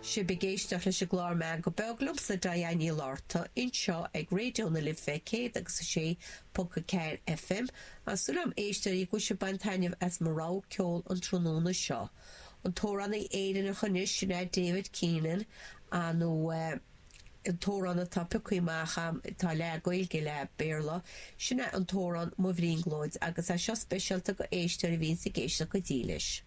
Sibh ag éisteacht leis an gclár Meangadh Beag liomsa, Diane Ní Fhlatharta, anseo ag Raidió na Life 106.4 FM. Tá súil agam, a éisteoirí, go bhfuil sibh ag baint taitneamh as mo rogha ceoil an tráthnóna seo. An t-amhránaí Éireannach anois, sin é David Keenan, nó an t-amhrán atá pioctha amach agam, atá leath Gaeilge, leath Béarla, sin é an t-amhrán Mo Bhrionglóid, agus é seo speisialta go éisteoirí a bhíonns ag éisteacht go dílis.